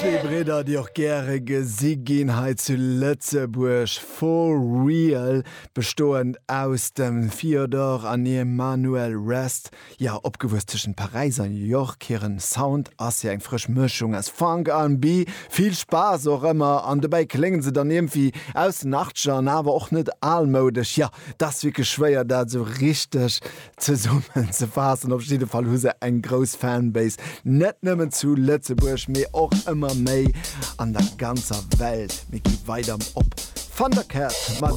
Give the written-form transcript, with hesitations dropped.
Zwee Bridder, déi och gäre gesi ginn hei zu Lëtzebuerg. For Real, bestoend aus dem Theodore an Emmanuel Rest. Jo, opgewuess tëschent Paräis an New York. Hiren Sound ass jo eng frësch Mëschung aus Funk, R&B, vill Spaass och ëmmer an dobäi kléngen se dann iergendwéi aus den Achtzeger an awer och net almoudesch. Jo, 't ass wierklech schwéier dat esou richteg zesummen ze faassen. Op jidde Fall hu se eng grouss Fanbase, net nëmmen zu Lëtzebuerg, mee och ëmmer méi an der ganzer Welt. Mir gi weider op Thundercat mat.